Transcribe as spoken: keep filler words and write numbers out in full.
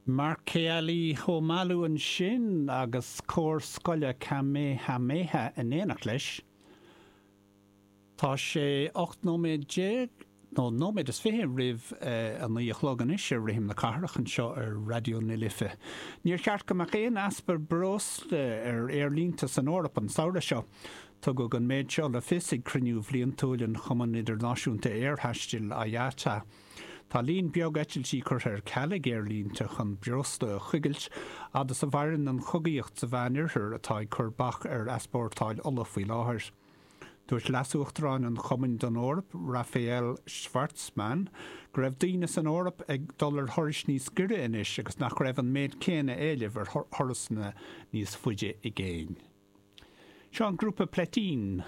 Mark Kealii ansin agus cór scoile Kamehameha in éineacht leis. Tá sé ocht nóiméad déag nó nóiméad is fiche roimh a naoi a chlog anois ar Rithim na Cathrach anseo ar Raidió na Life. Níor cheart go mbeadh aon easpa breosla ar aerlínte san Eoraip an samhradh seo. Tugadh an méid seo le fios ag cruinniú bliantúil an Chumann Idirnáisiúnta Aerthaistil IATA. Tá líon beag eitiltí curtha ar ceal ag aerlínte chun breosla a choigilt fhad is a mhaireann an chogaíocht sa Mheánoirthear atá ag cur bac ar easpórtáil ola faoi láthair. Dúirt leasuachtarán an Chumainn don Eoraip, Rafael Schvartzman, go raibh daoine san Eoraip ag dul ar thurais níos giorra anois agus nach raibh an méid céanna éilimh ar thurasanna níos faide i gcéin. Seo an grúpa Pléitín.